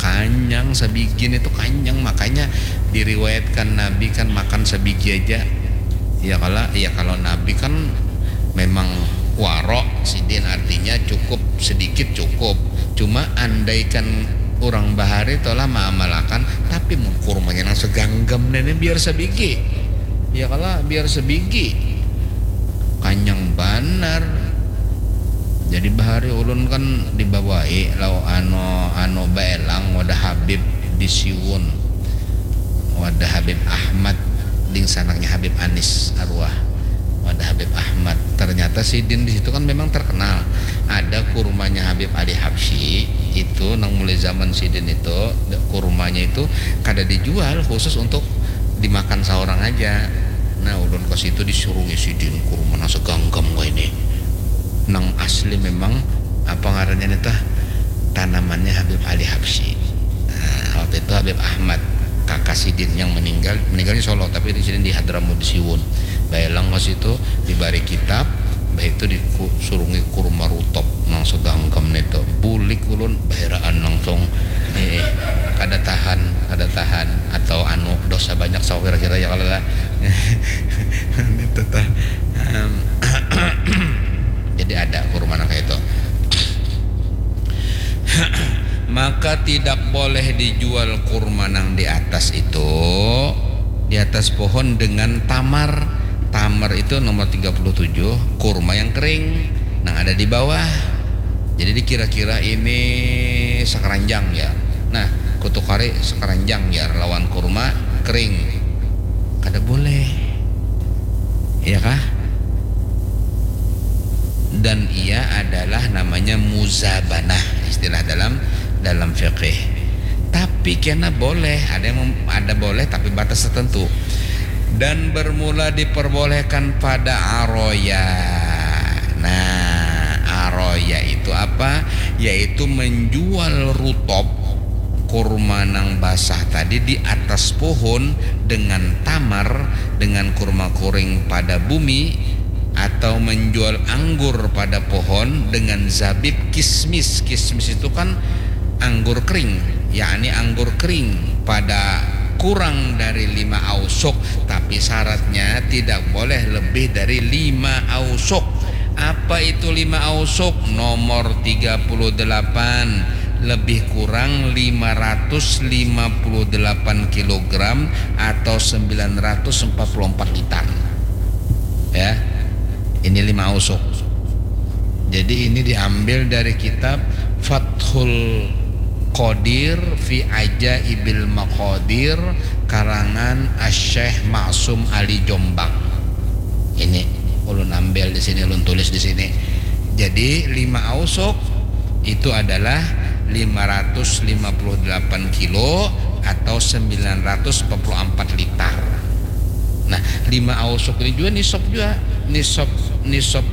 Kanyang sebigi itu kanyang, makanya diriwayatkan Nabi kan makan sebigi aja. Ya kalau ya kalau Nabi kan memang warok sidin, artinya cukup sedikit cukup. Cuma andaikan orang bahari tolah maamalakan, tapi mun kurmanya nang seganggam ini biar sebigi. Ya kalau biar sebigi. Kanyang banar. Jadi bahari ulun kan dibawai lau anu anu baelang wadah Habib di Siwun. Wadah Habib Ahmad, dingsanaknya Habib Anis arwah. Wadah Habib Ahmad. Ternyata sidin di situ kan memang terkenal. Ada kurmanya Habib Ali Habsyi itu nang mulai zaman sidin itu, kurmanya itu kada dijual, khusus untuk dimakan seorang aja. Nah, ulun ke situ disurungi sidin kurma nang seganggam kayak ini. Nang asli memang apa ngarannya nih tah, tanamannya Habib Ali Habsyi. Nah, waktu itu Habib Ahmad, kakak sidin yang meninggal, meninggalnya Solo, tapi di sini di Hadramaut di Siwun. Baelang ke situ, dibari kitab, bah itu disurungi kurma rutop nang seganggam itu. Bulik ulun, baheraan langsung. Eh, eh, kada tahan, kada tahan. Atau anu, dosa banyak sawa kira-kira ya kalau lah. Itu tah. Em, jadi ada kurma nang kayak itu. Maka tidak boleh dijual kurma nang di atas itu, di atas pohon dengan tamar. Tamar itu nomor tiga puluh tujuh, kurma yang kering, nang ada di bawah. Jadi dikira-kira ini sekeranjang ya. Nah, kutuk kari sekeranjang ya lawan kurma kering. Kada boleh. Iya kah? Dan ia adalah namanya muzabanah, istilah dalam dalam fikih. Tapi kena boleh, ada yang mem- ada boleh tapi batas tertentu. Dan bermula diperbolehkan pada aroya. Nah, aroya itu apa? Yaitu menjual rutop kurma nang basah tadi di atas pohon dengan tamar, dengan kurma kuring pada bumi, atau menjual anggur pada pohon dengan zabib kismis. Kismis itu kan anggur kering, yakni anggur kering pada kurang dari lima ausuk, tapi syaratnya tidak boleh lebih dari lima ausuk. Apa itu lima ausuk? Nomor tiga puluh delapan, lebih kurang lima ratus lima puluh delapan kilogram atau sembilan ratus empat puluh empat liter. Ya. Ini lima ausuk. Jadi ini diambil dari kitab Fathul Qadir fi Ajaibil Maqadir karangan Asy-Syaikh Maksum Ali Jombang. Ini ulun ambil di sini, ulun tulis di sini. Jadi lima ausuk itu adalah lima ratus lima puluh delapan kilo atau sembilan ratus empat puluh empat liter. Nah, lima ausuk ini juga nisab juga. Nisab, nisab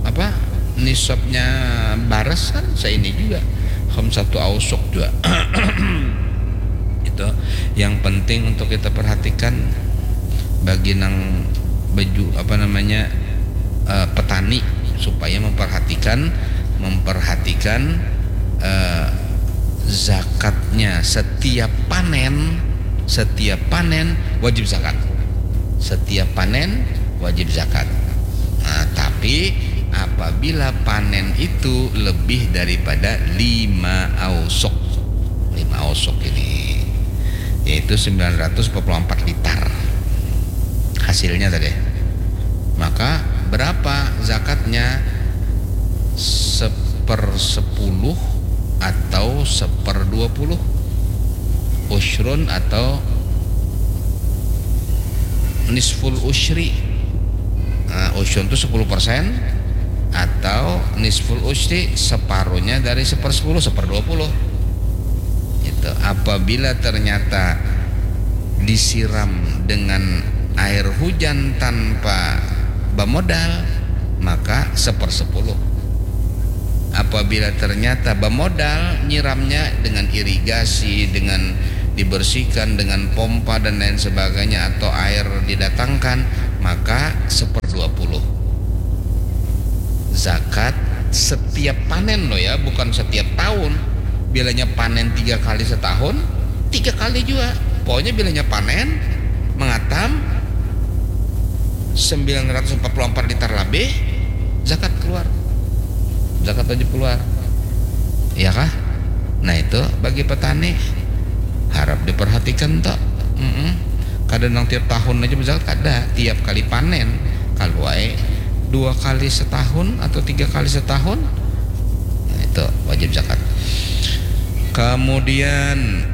apa? Nisabnya baras kan seini juga. Khamsatu ausuk juga. Itu yang penting untuk kita perhatikan bagi nang baju apa namanya, eh, petani supaya memperhatikan memperhatikan, eh, zakatnya. Setiap panen, setiap panen wajib zakat. Setiap panen wajib zakat. Nah, tapi apabila panen itu lebih daripada lima ausuk, lima ausuk ini, yaitu sembilan ratus empat puluh empat liter hasilnya tadi, maka berapa zakatnya? Sepersepuluh atau seperdua puluh, usyrun atau nisful usyri. Nah, usyrun itu sepuluh persen, atau nisful usyri, separuhnya dari sepersepuluh, seperdua puluh. Gitu. Apabila ternyata disiram dengan air hujan tanpa bamodal, maka sepersepuluh. Apabila ternyata bamodal nyiramnya dengan irigasi, dengan dibersihkan dengan pompa dan lain sebagainya, atau air didatangkan, maka seperdua puluh. Zakat setiap panen loh ya, bukan setiap tahun. Bilanya panen tiga kali setahun, tiga kali juga. Pokoknya bilanya panen, mengatam, sembilan ratus empat puluh empat liter lebih, zakat keluar. Zakat wajib keluar. Iya kah? Nah, itu bagi petani harap diperhatikan toh. Mm-mm. Kada nang tiap tahun aja berzakat, kada. Tiap kali panen, kalau wae dua kali setahun atau tiga kali setahun, nah, itu wajib zakat. Kemudian,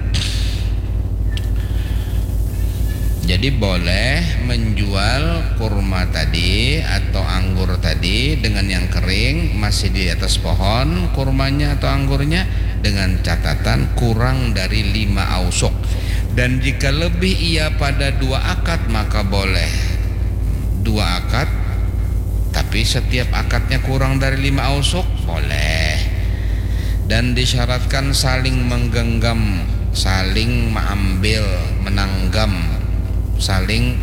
jadi boleh menjual kurma tadi atau anggur tadi dengan yang kering masih di atas pohon kurmanya atau anggurnya, dengan catatan kurang dari lima ausuk. Dan jika lebih ia pada dua akad, maka boleh dua akad, tapi setiap akadnya kurang dari lima ausuk, boleh. Dan disyaratkan saling menggenggam, saling mengambil, menanggam, saling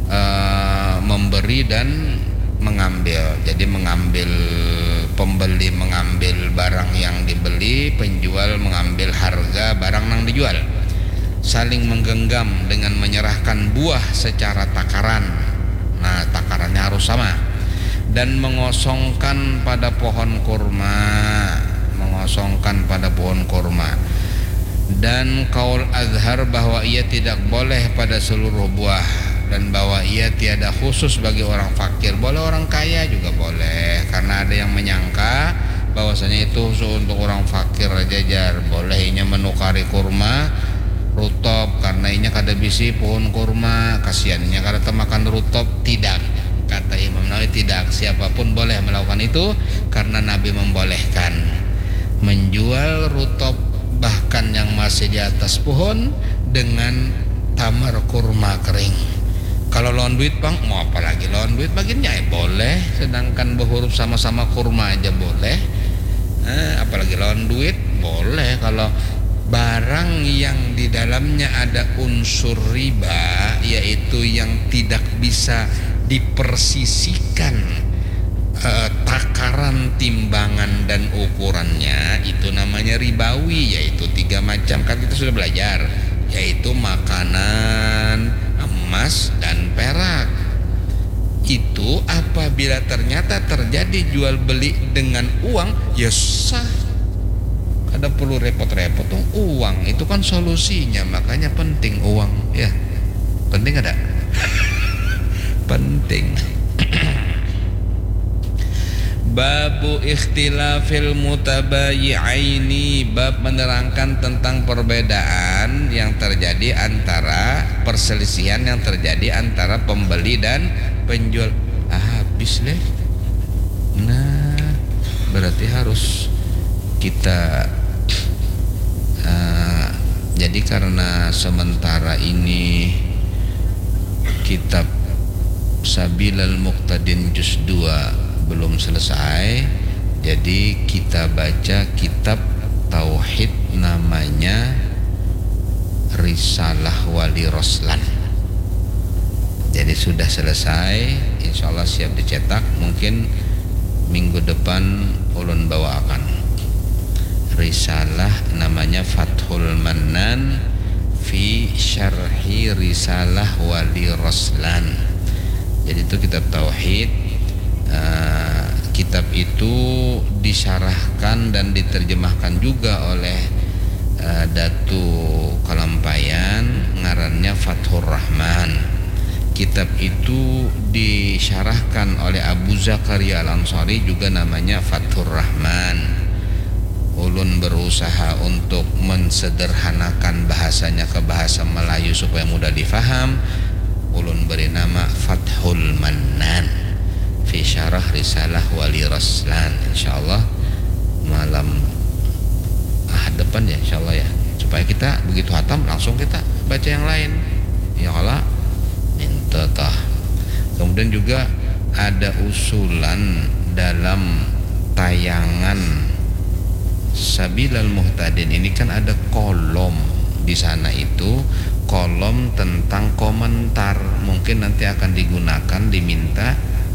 eh, memberi dan mengambil. Jadi mengambil, pembeli mengambil barang yang dibeli, penjual mengambil harga barang yang dijual. Saling menggenggam dengan menyerahkan buah secara takaran. Nah, takarannya harus sama. Dan mengosongkan pada pohon kurma, mengosongkan pada pohon kurma. Dan kaul azhar bahwa ia tidak boleh pada seluruh buah, dan bahwa ia tiada khusus bagi orang fakir. Boleh orang kaya juga boleh, karena ada yang menyangka bahwasanya itu khusus untuk orang fakir aja, jar. Boleh inya menukari kurma rutob, karena inya kada bisi pohon kurma, kasihan inya kada temakan rutob. Tidak, kata Imam Nawawi, tidak. Siapapun boleh melakukan itu karena Nabi membolehkan menjual rutob, bahkan yang masih di atas pohon, dengan tamar kurma kering. Kalau lawan duit, bang, mau apa lagi lawan duit, baginnya eh, boleh. Sedangkan berhuruf sama-sama kurma aja boleh. Eh, apalagi lawan duit, boleh. Kalau barang yang di dalamnya ada unsur riba, yaitu yang tidak bisa dipersisikan eh, takaran, timbangan, dan ukurannya, itu namanya ribawi, yaitu tiga macam. Kan kita sudah belajar, yaitu makanan, emas, dan perak. Itu apabila ternyata terjadi jual beli dengan uang, ya sah. Kada perlu repot-repot dong. Uang itu kan solusinya, makanya penting uang, ya. Penting ada? Penting. Babu ikhtilafil mutabayi'aini, bab menerangkan tentang perbedaan yang terjadi antara, perselisihan yang terjadi antara pembeli dan penjual. Ah, habis leh. Nah, berarti harus kita, eh, jadi karena sementara ini kitab Sabilal Muqtadin juz dua belum selesai, jadi kita baca kitab tauhid namanya Risalah Wali Roslan. Jadi sudah selesai, insya Allah siap dicetak. Mungkin minggu depan ulun bawaakan risalah namanya Fathul Mannan fi Syarhi Risalah Wali Roslan. Jadi itu kitab tauhid. Eh, kitab itu disyarahkan dan diterjemahkan juga oleh eh, Datu Kalampayan, ngarannya Fathur Rahman. Kitab itu disyarahkan oleh Abu Zakaria Al-Ansari, juga namanya Fathur Rahman. Ulun berusaha untuk mensederhanakan bahasanya ke bahasa Melayu supaya mudah difaham. Ulun beri nama Fathul Mannan fi Syarah Risalah Wali Raslan. Insya Allah malam Ahad depan ya, insya Allah ya. Supaya kita begitu hatam langsung kita baca yang lain. Ya Allah, minta tah. Kemudian juga ada usulan dalam tayangan Sabilal Muhtadin ini kan ada kolom di sana itu, kolom tentang komentar, mungkin nanti akan digunakan, diminta